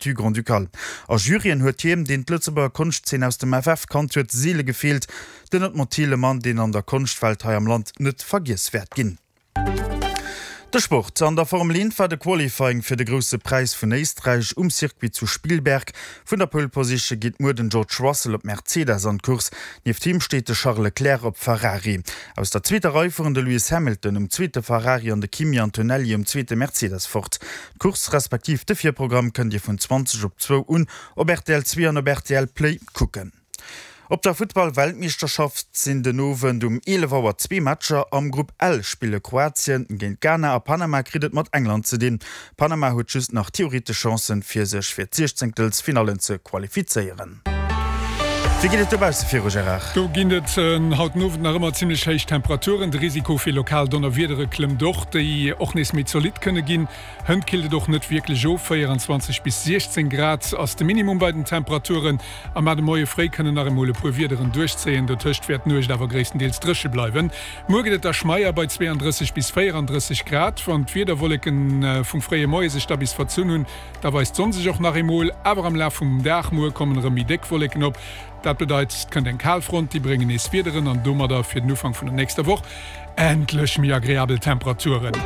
Statut grand-ducal. A Juryen huet hiem, deen d'Lëtzebuerger Konschtzeen aus dem FF kannt huet, seele gefeelt, den Edmond Thill, e Mann, deen an der Konschtwelt hei am Land net vergiess wäert ginn. De Sport, An der Formel 1 war de Qualifying fir de Grousse Präis vun Éisträich um Circuit zu Spielberg. Vun der Pole Position geet muer den George Russell op Mercedes an d'Course. Nieft him steet de Charles Leclerc op Ferrari. Aus der zweeter Rei fueren de Lewis Hamilton um zweete Ferrari an de Kimi Antonelli um zweete Mercedes fort. D'Course respektiv de Virprogramm kënnt Dir vun 20 op zwou un op rtl 2 an op rtl Play kucken. Op der Futtball-Weltmeeschterschaft sinn den Owend um 11 Auer zwee Matcher. Am Grupp L spille Kroatien géint Ghana a Panama kritt et mat England ze dinn. Panama huet just nach theoretesch Chancen, fir sech fir d'Siechzéngtelsfinallen ze qualifizéieren. Wéi geet et dobausse viru, Gérard? Do ginn et haut den Owend nach ëmmer zimmlech héich Temperaturen. De Risiko fir lokal Donnerwiedere klëmmt och, déi och nees méi zolidd kënne ginn. Hënt killt et och net wierklech of, 24 bis 16 Grad ass de Minimum bei den Temperaturen. A mar de Moie fréi kënnen nach emol e puer Wiederen duerchzéien, dotëscht wäert d'Nuecht awer gréisstendeels dréche bleiwen. Muer gëtt et da schmeier bei 32 bis 34 Grad. Wann d'Wiederwolleke vum fréie Moie sech da bis verzunn hunn, Da weist d'Sonn sech och nach eemol, awer am Laf vum Dag muer kommen erëm méi déck Wolleken op. Dat bedeit, et kënnt eng Kalfront, déi bréngen nees Wiederen an domadder fir den Ufank vun der nächster Woch endlech méi agreabel Temperaturen.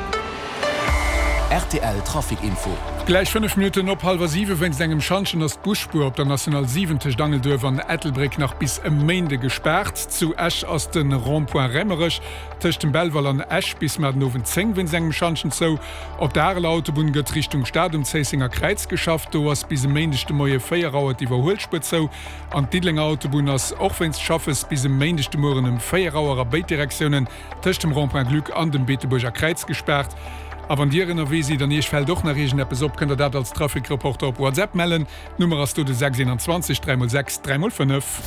Rtl Trafic Info. Gläich 5 Minutten op hallwer 7. Wéinst engem Schantjen ass d'Busspuer op der National 7 tëscht Angelduerf an Ettelbréck nach bis e Méinde gespaart. Zu Esch ass de Rond-point Raemerech tëscht dem Belval an Esch bis mar den Owend 10 wéinst engem Schantjen zou. Op der Areler Autobunn gëtt Richtung Stad um Zéissenger Kräiz geschafft. Do ass bis e Méindeg de Moie 4 Auer d'Iwwerhuelspuer zou. An d'Diddelenger Autobunn ass och wéinst Schaffes bis e Méindeg de Mueren ëm 4 Auer a béid Direktiounen tëscht dem Rond-point Gluck an dem Beetebuerger Kräiz gespaart. A wann Dir ënnerwee sidd an Iech fält och nach iergendeppes op, kënnt der dat als Trafic-Reporter op WhatsApp mellen. D'Nummer ass do de 6 21 3 x 6 3 x 5.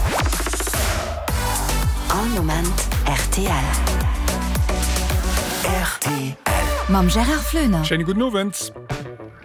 All Moment rtl. Rtl. Mam Gérard Floener. Schéine gudden Owend.